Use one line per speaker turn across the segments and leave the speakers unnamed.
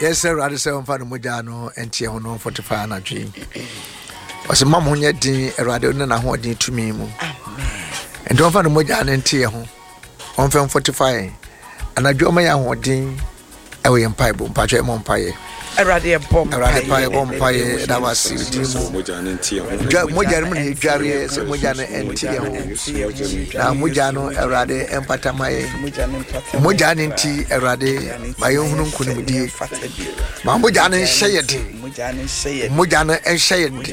Yɛsrɛ Awurade sɛ ɔmfa ne mogya no nteɛ ho no mfortify anadwo yi. Ɔsɛ ma mo ho nyɛ den Awurade ne n'ahoɔden tumi mu. Nti ɔmfa ne mogya no nteɛ ho. Ɔmfa mfortify yɛn. Anadwo ɔma yɛ ahoɔden ɛwɔ yɛn mpaebɔ mpakyɛ ɛmɔ mpaeɛ.
Awurade ɛbɔ mpaeɛ.
Awurade pa yɛbɔ mpaeɛ ɛda wase din mu. Dwa mogya no mu na yɛdwareɛ sɛ mogya no ɛnte yɛn ho. Na mogya no Awurade ɛmpata ma yɛn. Mogya no nti Awurade ma yɛnhunu nkonimdie. Ma mogya no nhyɛ yɛ den. Mogya no nhyɛ yɛn den.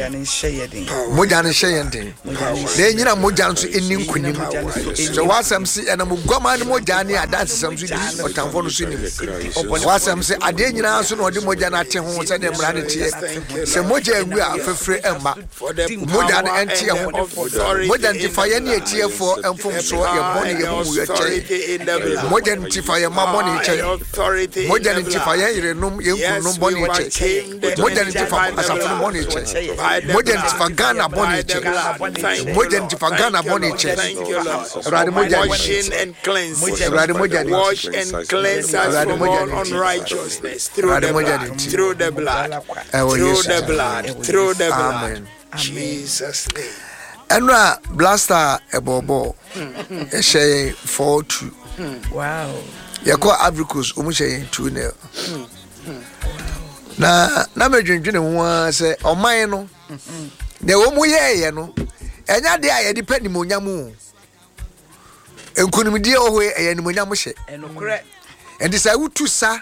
Mogya no nhyɛ yɛn den. Na ɛnyina mogya nso ɛni nkonim. Sɛ w'asɛm se ɛnam oguaman no mogya ne adansesɛm so di ɔtamfo no so nim. W'asɛm se adeɛ nyinaa so na ɔde mogya no ate ho sɛdeɛ mmara no teɛ. Sɛ mogya angu a fafire mma. Mogya no ɛnte yɛn ho. Mogya no nti fa yɛn ne atiefoɔ mfomsoɔ, yɛn bɔne, yɛn amumuyɛ kyɛ yɛn. Mogya no nti fa yɛn mma bɔne kyɛ yɛn. Mogya no nti fa yɛn yerenom, yɛn kununom bɔne kyɛ. Mogya no nti fa asafo no bɔne kyɛ. Mogya no nti fa Ghana bɔne kyɛ. Mogya no nti fa Ghana bɔne kyɛ. Awurade mogya no nti. Awurade mogya no nti. Awurade mogya no nti. Awurade mogya no nti. Ɛwɔ Yesu din. Amen.
Jesus name.
Ɛno a blaster ɛbɔɔbɔɔ ɛhyɛ yɛn 4-2.
Wow.
Yɛkɔ Ivory Coast wɔn hyɛ yɛn 2-0. Na na medwendwene ho ara sɛ ɔman no deɛ wɔn yɛɛyɛ no ɛnyɛ adeɛ a yɛde pɛ nimonyam o. Nkunimdie wɔ hɔ yi ɛyɛ animonyam hyɛ. Ɛnti sɛ wotu sa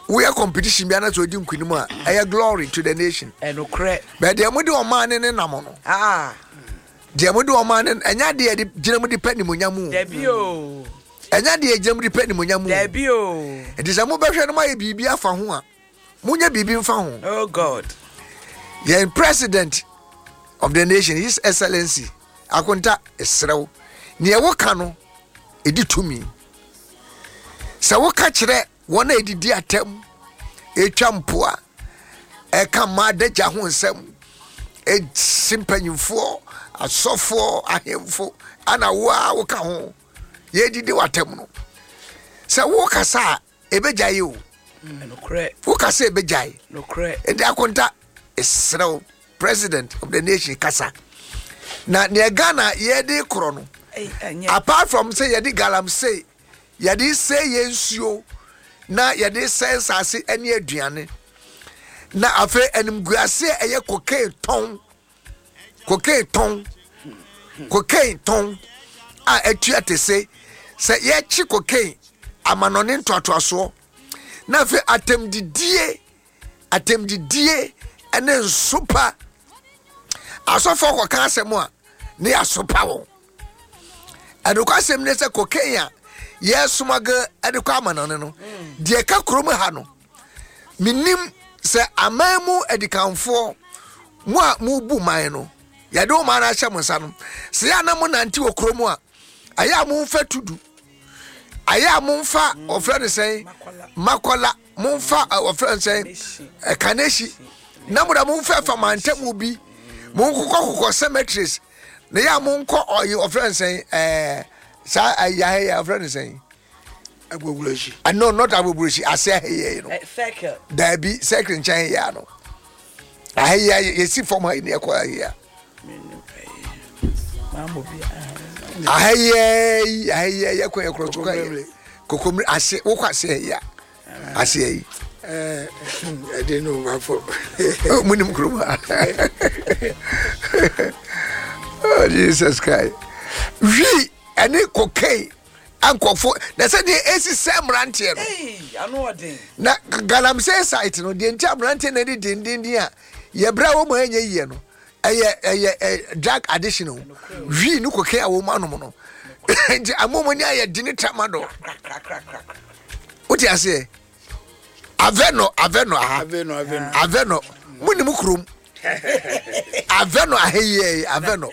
woyɛ competition bi anasɛ odi nkunim a ɛyɛ glory to the nation. Bɛɛ deɛ mode ɔman ne ne nam no.
Ah.
Deɛ mode ɔman ne ɛnyɛ adeɛ yɛde gyina mu de pɛ animonyam o.
Dabi o.
Ɛnyɛ adeɛ yɛgyina mu de pɛ animonyam o.
Dabi o.
Ɛnti sɛ mobɛhwɛ no moayɛ biribi afa ho a monyɛ biribi mfa ho.
Oh God.
Yɛn president of the nation his excellency Akonta, mesrɛ wo, nea woka no, ɛdi tumi. Sɛ woka kyerɛ wɔn a ɛdidi atɛm, ɛtwa mpoa, ɛka mmaa adagya ho nsɛm, ɛsi mpanyimfoɔ, asɔfoɔ, ahemfo, ana wo a woka ho, yɛdidi w'atɛm no. Sɛ wokasa a, ɛbɛgyae o. Wokasa ɛbɛgyae. Ɛnti Akonta, mesrɛ wo, president of the nation kasa na nea ghana yɛde korɔ no apart from sɛ yɛde galamsey yɛde sɛ yɛn nsuo na yɛde sɛ nsase ne aduane na afei animguase a ɛyɛ cocaine tɔn cocaine tɔn cocaine tɔn a atua te se sɛ yɛkye cocaine amanɔne ntoatoasoɔ na afei atɛmdidie atɛmdidie ne nsopa asɔfoɔ kɔka asɛm a ne yɛasopa wɔn ɛnokwasɛm ne sɛ cocaine a yɛsomage de kɔ amanɔne no deɛ ɛka kurom ha no menim sɛ aman mu adikanfoɔ mo a mobu man no yɛde wo man no ahyɛ mo nsa no sɛ yɛ a na monante wɔ kurom a ɛyɛ a momfa tudu ɛyɛ a momfa ɔfrɛ no sɛn makɔla momfa wɔfrɛ no sɛn kanehyi na mo da momfa fa mantamu bi monkokɔ kokɔ cemeteries na yɛ a monkɔ ɔyi wɔfrɛ no sɛn ɛɛ saa ɛyɛ ahɛ yɛ wɔfrɛ no sɛn
Agbogbloshie.
No, not Agbogbloshie. Ase ahɛ yɛ no.
Circle.
Daabi, circle nkyɛn yɛ ano. Ahɛ yɛ yɛsi fam ha yi na ɛkɔ ahɛ yɛ. Ahɛ yɛ yi ahɛ yɛ yɛ kɔ yɛ korɔ so kɔ yɛ. Kokomire ase wokɔ ase ahɛ yɛ ase yi.
Ɛde no ba fɔ.
Mo nim kurom ha. Oh Jesus Christ. Wi ɛne cocaine ankɔfo na sɛ deɛ esi sɛ mmeranteɛ no. Na galamsey site no deɛ nti aberanteɛ na ɛde dendenden a yɛbrɛ a wɔn ɛnyɛ yie no ɛyɛ ɛyɛ drug addiction o wii ne cocaine a wɔn anom no nti amomo ni ayɛ di ne tramadol wote aseɛ avɛnɔ avɛnɔ aha avɛnɔ mo nim kurom avɛnɔ aheyɛ avɛnɔ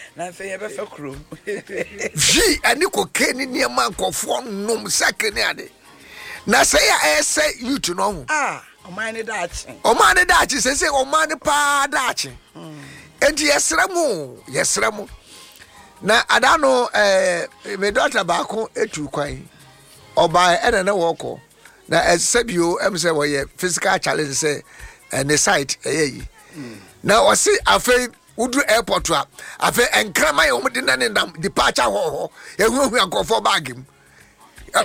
wii ɛne cocaine ne nneɛma nkɔfoɔ nom sɛkere ne ade na sɛ yɛ ɛsɛ youth no ho.
Ah. Ɔman ne daakye.
Ɔman ne daakye sese ɔman ne paa daakye. Enti yɛsrɛ mo yɛsrɛ mo. Na ada no ɛɛ eh, me dɔkta baako etu kwan. Ɔbaa ɛna na wɔkɔ. Na ɛsɛ bio ɛm sɛ wɔyɛ physical challenge sɛ ɛne site ɛyɛ yi. Na ɔse afei woduru airport a afei nkraman yɛ wɔn de na ne nam departure hɔ hɔ ehuahua nkurɔfoɔ baagi mu.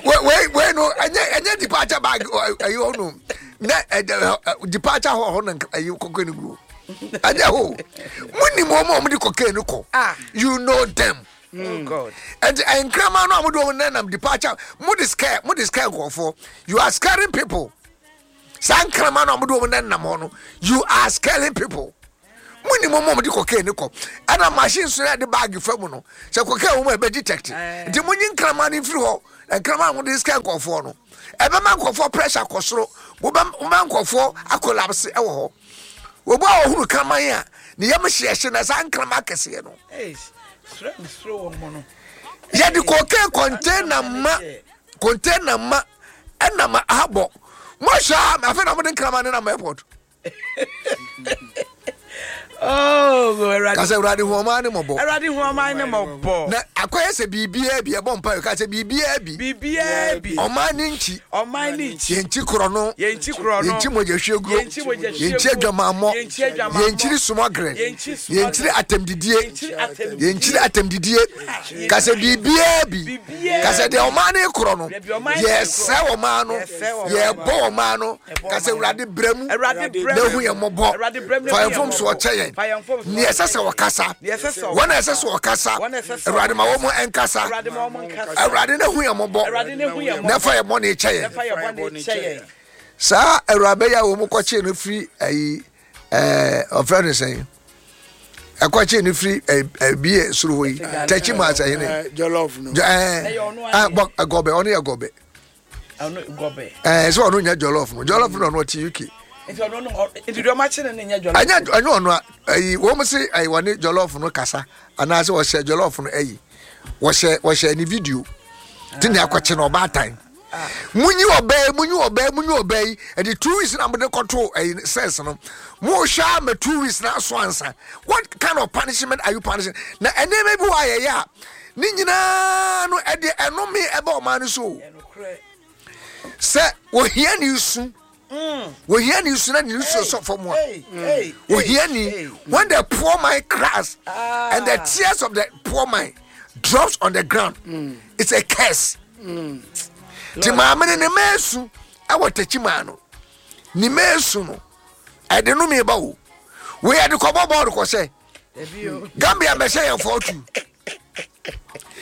Wei wei no ɛnyɛ ɛnyɛ departure bag ɛyi hɔ no na ɛdɛ departure hɔ hɔ na ɛyi kɔkɛ no gu ɛnyɛ hɔ mo nim wɔn a wɔn de kɔkɛ no kɔ ah. You know them.
Oh God.
And nkraman no a mo de wɔn nenam departure mo de scare mo de scare nkurɔfoɔ. You are scaring people. Saa nkraman no a mo de wɔn nenam hɔ no, you are scaring people. Mo ni mo mo de cocaine kɔ ɛna machine so yɛ de bag fa mu no sɛ cocaine wɔn ɛbɛ detect eh. Nti mo nyi nkraman no mfiri hɔ. Nkraman mo de scare nkurɔfoɔ no ɛbɛma nkurɔfoɔ pressure kɔ soro. Mo bɛ mo bɛ nkurɔfoɔ akolapse ɛwɔ hɔ. Obi a ɔhunu kraman a ne yam hyeɛhye na saa nkraman akɛseɛ no yɛde cocaine container ma container ma ɛna ma abɔ mo ahwɛ a afei na mo de nkraman ne nam airport.
Oh,
Kasa Awurade hu ɔman ne mmɔbɔ.
Awurade hu ɔman ne mmɔbɔ.
Na akɔyɛ sɛ biribiara bi ɛbɔ mpa ka sɛ biribiara bi.
Biribiara bi.
Ɔman ne nkyi.
Ɔman ne nkyi.
Yɛn nkyi korɔ no.
Yɛn nkyi korɔ no.
Yɛn nkyi mogya hwie guo.
Yɛn nkyi mogya hwie
guo. Yɛn nkyi adwamammɔ.
Yɛn nkyi adwamammɔ.
Yɛn nkyiri sumɔgere.
Yɛn nkyi sumɔgere.
Yɛn nkyiri atɛmdidie.
Yɛn nkyiri atɛmdidie.
Yɛn nkyiri atɛmdidie. Ka sɛ biribiara bi. Ka sɛ deɛ ɔman ne korɔ no. Yɛsɛ ɔman no. Yɛbɔ ɔman no. Ka sɛ Awurade brɛ mu na hu yɛn mmɔbɔ. Fa yɛn mfomsoɔ kyɛ yɛn. Nea ɛsɛ sɛ wɔkasa, wɔn a ɛsɛ sɛ wɔkasa, Awurade ma wɔn nkasa. Awurade na hu yɛn mmɔbɔ na fa yɛn bɔne kyɛ yɛn. Saa awuraba yi a wɔn kɔkyee no firi ayi ɛɛ ɔfrɛ no sɛn ɛkɔkyee no firi ɛɛ bie soro hɔ yi tɛkyi mu asɛhene
jollof no
ɛɛ bɔ gɔbɛ ɔno yɛ gɔbɛ. Ɛɛ sɛ ɔno nyɛ jollof no jollof no ɔno ɔte UK.
Nti ɔno no nti deɛ ɔmo akye no no nyɛ jollof.
Ɛnyɛ ɛnyɛ ɔno a ɛyi wɔn se ɛyi wɔne jollof no kasa anaasɛ wɔhyɛ jollof no ɛyi wɔhyɛ wɔhyɛ ne video ti ne akɔkye no ɔbaatan. Munyi ɔbaa yi munyi ɔbaa yi munyi ɔbaa yi ɛde 2 weeks na mo de kɔto ɛyi sɛs no mo hwɛ ama 2 weeks na aso ansa. What kind of punishment are you punishing? Na ɛnneɛma bi wɔ ayɛyɛ a ne nyinaa no ɛde ɛnome ɛbɛ ɔman no so sɛ ohia ne su ohia ne su na ne su sɔ fam a ohia ni. When the poor man cries and the tears of the poor man drops on the ground, it's a curse. Ti maame no ne mma esu ɛwɔ tɛkyi maa no ne mma esu no ɛde no mi ba o wei ɛde kɔbɔ bɔɔlu kɔhyɛ Gambia bɛhyɛ yɛn 4-2.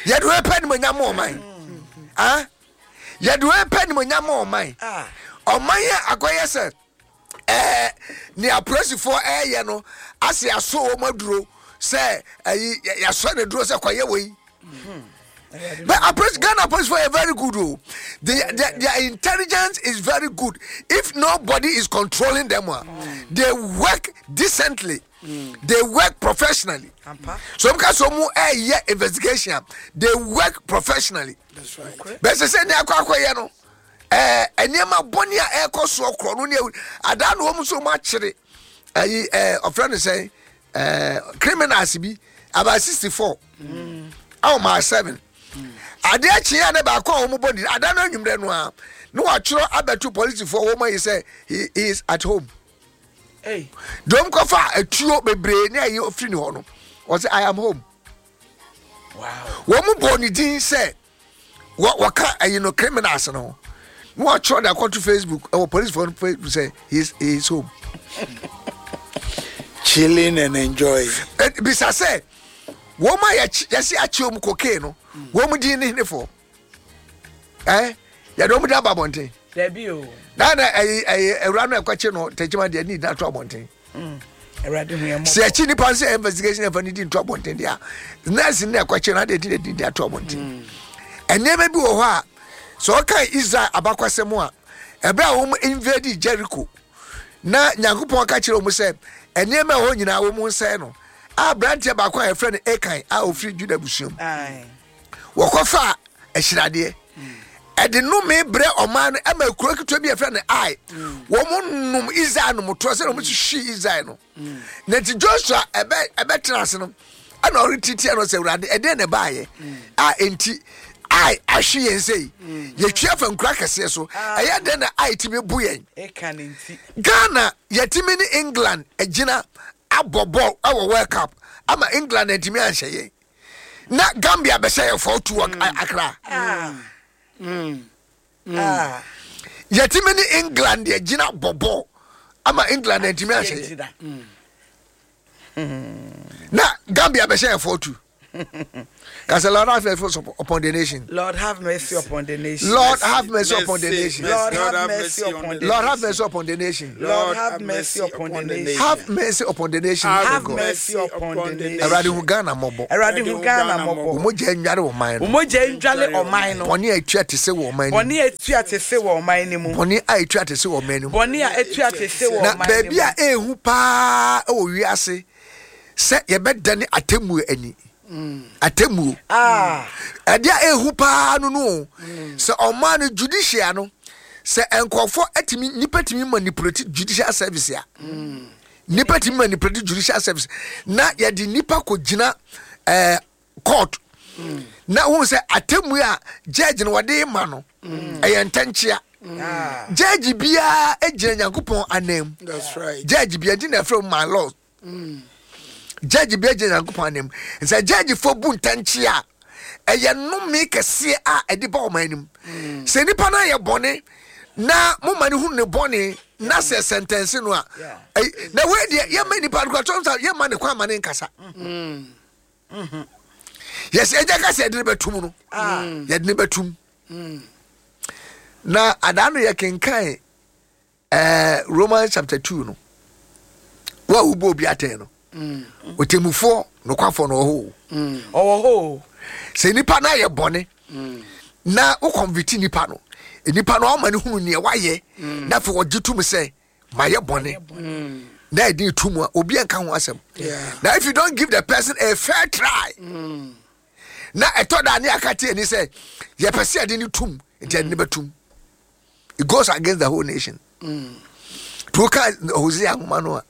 Yɛde wei pɛ nimonyam ma ɔman ah yɛde wei pɛ nimonyam ma ɔman ɔman yɛ akɔyɛ sɛ ɛɛ nea apolisifoɔ ɛɛyɛ no ase aso wɔn aduro sɛ ɛyi yasɔ ne duro sɛ kɔyɛ wei. But approach Ghana police are very good. Oh. Their intelligence is very good. If nobody is controlling them, they work decently. They work professionally. So because some yeah investigation, they work professionally.
That's right.
But they say they are quite no. Eh, nneɛma bɔne a ɛrekɔ soɔ korɔ no ne adaa na wɔn nso wɔn akyere ɛyi ɛɛ ɔfrɛ no sɛn ɛɛ criminals bi about 64 ɛwɔ Mile 7. Adeɛ kyeɛ a ne baako a wɔn bɔ ne adaa no anwummerɛ no a na wɔatwerɛ abɛto polisifoɔ wɔn ayi sɛ he is at home. Dɔm kɔfa atuo bebree ne ayi ofiri ne hɔ no wɔsɛ I am home. Wɔn mu bɔ ne din sɛ wɔka ayi no criminals no na wɔatwerɛ de akɔto Facebook ɛwɔ polisifoɔ no Facebook sɛ he is home.
Chilling and enjoying.
Bisa sɛ wɔn a yɛsi akyi wɔn cocaine no wɔn din ne henefoɔ ɛɛ yɛde wɔn din aba abɔnten.
Dabi o.
Na na ɛyi ɛyi awura no ɛkɔkye no tɛkyima deɛ ne nyinaa to abɔnten.
Awurade hu yɛn mmɔbɔ.
Sɛ akyi nipa sɛ investigation ɛfa ne di nto abɔnten deɛ a nurse ne ɛkɔkye no adeɛ ti de di ato abɔnten. Nneɛma bi wɔ hɔ a sɛ ɔka Israel abakwasɛm a ɛbɛrɛ a wɔn invade Jericho na Nyankopɔn ka kyerɛ wɔn sɛ nneɛma ɛwɔ nyinaa wɔn nsɛn no a aberanteɛ baako a yɛfrɛ no Akan a ofiri Juda busua mu wɔkɔfa ahyiradeɛ ɛde nnome brɛ ɔman no ɛma kuro ketewa bi a yɛfrɛ no Ai wɔn nom Israel nom toɔ sɛ wɔn hwehwe Israel no na nti Joshua ɛbɛ ɛbɛtena ase no ɛna ɔretiti ɛno sɛ Awurade ɛdeɛ na ɛbaayɛ a enti. Ai ahwe yɛn sei. Yɛtwi afa nkuro akɛseɛ so. Ɛyɛ dɛn na Ai tumi bu yɛn? Ghana yɛtumi ne England agyina abɔ bɔɔl wɔ World Cup ama England antumi anhyɛ yɛn. Na Gambia bɛhyɛ yɛn 4-2 wɔ Accra. Yɛtumi ne England agyina bɔ bɔɔl ama England antumi anhyɛ yɛn. Na Gambia bɛhyɛ yɛn 4-2. Kasa Lord have mercy upon the nation.
Lord have mercy upon the nation.
Lord have mercy upon the nation.
Lord have mercy upon the
Lord have mercy upon the nation.
Lord have mercy upon the nation.
Have mercy upon the nation.
Have mercy upon the nation.
Awurade hu Ghana mmɔbɔ.
Awurade hu Ghana mmɔbɔ.
Mogya ndware ɔman no.
Mogya ndware ɔman no.
Bɔne a etua te se wɔ ɔman no mu.
Bɔne a etua te se wɔ ɔman no mu.
Bɔne a etua te se wɔ ɔman no mu.
Bɔne a etua te se wɔ ɔman no mu.
Na baabi a ehu paa wɔ wiase sɛ yɛbɛdane atemmuo ani. Atemmuo. Ɛdeɛ a ɛhu paa no no o. Sɛ ɔman no judicial no, sɛ nkurɔfoɔ atumi, nnipa tumi manipulate judicial service a, nnipa tumi manipulate judicial service na yɛde nnipa kɔgyina ɛɛ court na wohu sɛ atemmuo a judge no wɔde ma no ɛyɛ ntɛnkyea. Judge biara gyina Nyankopɔn anan mu. Judge biara nti na ɛfrɛ my lord. Judge bi gyina Nyankopɔn anim. Sɛ judgefoɔ bu ntɛnkye a, ɛyɛ nnome kɛseɛ a ɛde ba ɔman anim. Sɛ nipa no ayɛ bɔne na moma no hunu ne bɔne na sɛ sɛntɛnse no a, na wei deɛ yɛma nipa no kora sɛ yɛma ne kwan ma ne nkasa. Yɛsɛ ɛgya ka sɛ yɛde no bɛtum no, yɛde no bɛtum. Na adaa no yɛkenkan Ɛɛ Romans chapter 2 no, wo a wobɔ obi atɛn no, ɔtemmufoɔ nokwafoɔ no ɔwɔ hɔ o.
Ɔwɔ hɔ o.
Sɛ nipa no ayɛ bɔne na wo convict nipa no, nipa no ɔma no hunu nea wayɛ na afei ɔgye tom sɛ mayɛ bɔne na ɛde to mu a obi anka ho asɛm. Na if you don't give the person a fair try, na ɛtɔ da ne aka te ani sɛ yɛpɛ sɛ yɛde no tum nti yɛde no bɛtum. It goes against the whole nation. To ka Hosea nwoma no a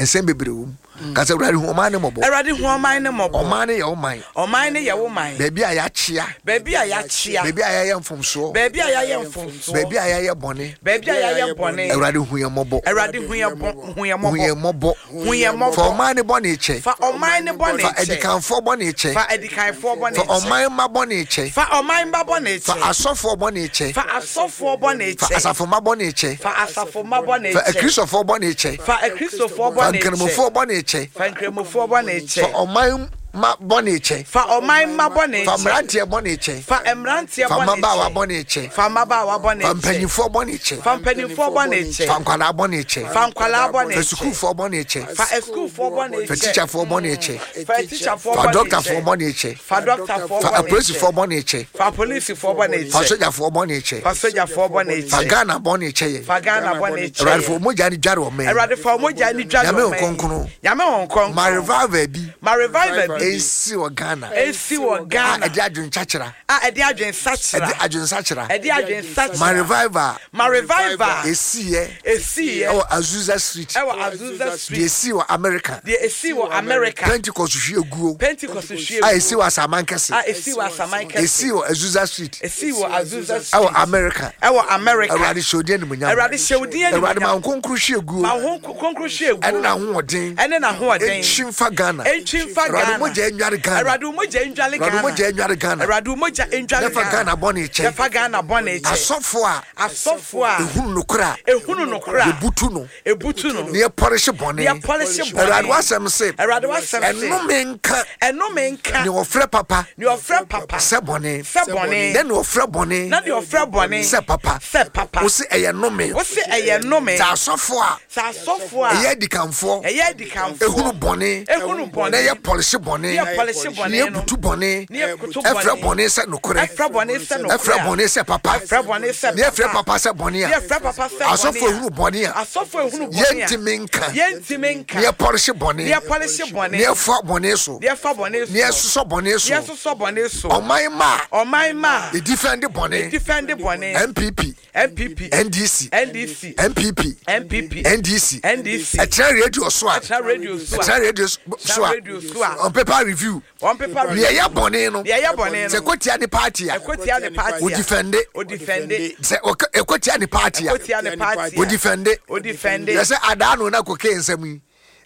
nsɛm bebree wɔ mu. Mm. Ka sɛ Awurade hu ɔman ne mmɔbɔ.
Awurade hu ɔman ne mmɔbɔ.
Ɔman ne yɛ ɔman.
Ɔman ne yɛ wo man.
Baabi a yɛakyea.
Baabi a yɛakyea.
Baabi a yɛayɛ mfomsoɔ.
Baabi a yɛayɛ mfomsoɔ.
Baabi a yɛayɛ bɔne.
Baabi a yɛayɛ bɔne.
Awurade hu yɛn mmɔbɔ.
Awurade hu yɛn hu yɛn
mmɔbɔ. Hu yɛn mmɔbɔ.
Hu yɛn mmɔbɔ.
Fa ɔman no bɔne kyɛ.
Fa ɔman no bɔne kyɛ.
Fa adikanfoɔ bɔne kyɛ.
Fa adikanfoɔ bɔne kyɛ.
Fa ɔman mma bɔne kyɛ.
Fa ɔman mma bɔne kyɛ.
Fa asɔfoɔ bɔne kyɛ.
Fa asɔfoɔ bɔne kyɛ.
Fa asafo mma bɔne kyɛ.
Fa asafo mma bɔne kyɛ.
Fa akristofoɔ bɔne kyɛ.
Fa akristofoɔ bɔne kyɛ.
Fa nkramofoɔ bɔne kyɛ.
Fa nkramofoɔ bɔne kyɛ.
Fa ɔman mma bɔne kyɛ.
Fa ɔman mma bɔne kyɛ.
Fa mmeranteɛ bɔne kyɛ.
Fa mmeranteɛ bɔne kyɛ.
Fa mmabaawa bɔne kyɛ.
Fa mmabaawa bɔne
Fa
kyɛ.
mpanimfoɔ bɔne kyɛ.
Fa mpanimfoɔ bɔne kyɛ.
Fa nkwadaa bɔne kyɛ.
Fa nkwadaa bɔne
Fa
kyɛ.
sukuufoɔ bɔne kyɛ.
Fa asukuufoɔ bɔne
Fa
kyɛ.
tikyafoɔ bɔne kyɛ.
Fa atikyafoɔ
Fa
bɔne kyɛ.
dɔktafoɔ bɔne kyɛ.
Fa dɔktafoɔ
Fa
bɔne kyɛ.
apolisifoɔ bɔne kyɛ.
Fa apolisifoɔ bɔne
Fa
kyɛ.
sogyafoɔ bɔne kyɛ.
Fa sogyafoɔ bɔne
Fa
kyɛ.
Ghana bɔne kyɛ yɛn.
Fa Ghana bɔne kyɛ
Awurade fa
yɛn.
wo mogya no dware ɔman yi.
Awurade fa wo mogya no dware
Nyame
ɔman yi.
Kronkron.
Nyame Honhom Kronkron.
Ma revival bi.
Ma revival bi.
Ɛnsi wɔ Ghana.
Ɛnsi wɔ Ghana.
A ɛde adwensakyera.
A ɛde adwensakyera.
Ɛde adwensakyera.
Ɛde adwensakyera.
Ma revival.
Ma revival.
Esiiɛ.
Esiiɛ.
Ɛwɔ Azusa Street.
Ɛwɔ Azusa Street.
Deɛ esii wɔ America.
Deɛ esii wɔ America.
Pentecost hwie guo.
Pentecost hwie guo.
A esii wɔ Asaman kɛse.
A esii wɔ Asaman kɛse.
Esii wɔ Azusa Street.
Esii wɔ Azusa Street.
Ɛwɔ America.
Ɛwɔ America.
Awurade hyɛ odin animuonyam.
Awurade hyɛ odin animuonyam.
Awurade ma wo nkonkro hwie guo.
Ma wo nkonkro hwie guo.
Ɛne n'ahoɔden.
Ɛne n'ahoɔden.
Ntwi mfa Ghana.
Ntwi mfa Ghana.
Awurade mogya nnware Ghana.
Awurade mogya nnware Ghana.
Awurade mogya nnware Ghana.
Awurade mogya nnware Ghana.
Yɛfa Ghana bɔne kyɛ.
Yɛfa Ghana bɔne kyɛ.
Asɔfo a.
Asɔfo a.
Ehunu nokorɛ a.
Ehunu nokorɛ a.
Ebutu no.
Ebutu no.
Ne yɛpɔrehye bɔne.
Ne yɛpɔrehye bɔne.
Awurade w'asɛm se.
Awurade w'asɛm se.
Ɛnome nka.
Ɛnome nka.
Ne ɔfrɛ papa.
Ne ɔfrɛ papa.
Sɛ bɔne.
Sɛ bɔne.
Ne ne ɔfrɛ bɔne.
Na deɛ ɔfrɛ bɔne.
Sɛ papa.
Sɛ papa.
Wose ɛyɛ nome.
Wose ɛyɛ nnome.
Sɛ asɔfo a.
Sɛ asɔfo a.
Ɛyɛ adikanfoɔ.
Ɛyɛ adikanfoɔ.
Ehunu bɔne.
Ehunu bɔne.
Na ɛyɛ pɔlehye bɔne.
Ne yɛ pɔlehye bɔne
Ne
no.
yɛbutu bɔne.
Ne yɛbutu bɔne.
Ɛfrɛ bɔne sɛ nokorɛ.
Ɛfrɛ bɔne sɛ nokorɛ.
Ɛfrɛ bɔne sɛ papa.
Ɛfrɛ bɔne sɛ
Ne yɛfrɛ
papa.
papa sɛ bɔne a.
Ne yɛfrɛ papa sɛ bɔne a.
Asɔfo ehunu bɔne a.
Asɔfo ehunu bɔne a.
Yɛntumi nka.
Yɛntumi nka.
Ne yɛpɔlehye bɔne.
Ne yɛpɔlehye bɔne.
Ne yɛfa bɔne so.
Ne yɛfa bɔne so.
Ne yɛsosɔ bɔne so.
Ne yɛsosɔ bɔne so.
Ɔman mma a.
Ɔman mma a.
Edifɛnde bɔne.
Edifɛnde bɔne.
NPP.
NPP.
NDC.
NDC.
NPP.
NPP.
NDC.
NDC.
Ɛtena radio so a.
Ɛtena radio so a.
Ɛtena radio so a.
Radio so a.
Ɔmpɛ paper review.
Wɔn paper
review. Deɛ ɛyɛ bɔne no.
Deɛ ɛyɛ bɔne no.
Sɛ ɛkɔtia ne party a.
Ɛkɔtia ne party a.
Odifɛnde.
Odifɛnde.
Sɛ ɛkɔtia ne party a.
Ɛkɔtia ne party a.
Odifɛnde.
Odifɛnde.
Yɛ sɛ adaa no na kɔkɛ nsɛm yi.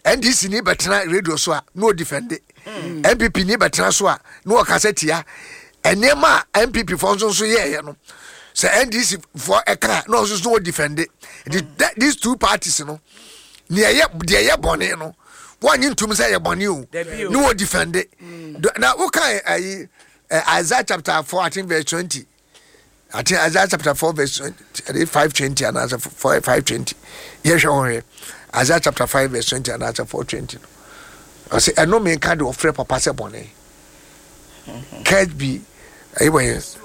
NDC ni bɛtena radio so a na odifɛnde. NPP ni bɛtena so a na ɔkasa tia. Nneɛma a NPP foɔ nso nso yɛɛyɛ no sɛ NDC foɔ ɛka na ɔnso so odifɛnde. These two parties no deɛ ɛyɛ deɛ ɛyɛ bɔne no wɔnye ntum sɛ ɛyɛ bɔne o ne wɔ defende mm. Na woka ayi Isaiah chapter 4, I think verse 20. I think Isaiah chapter 4 verse 20, 5 20 anaasɛ 4 5 20. Yɛhwɛ ho hwɛ Isaiah chapter 5 verse 20 anaasɛ 4 20 no, ɔsɛ ɛno menka de ɔfrɛ papa sɛ bɔne. Curse be ɛyi wɔ yɛ.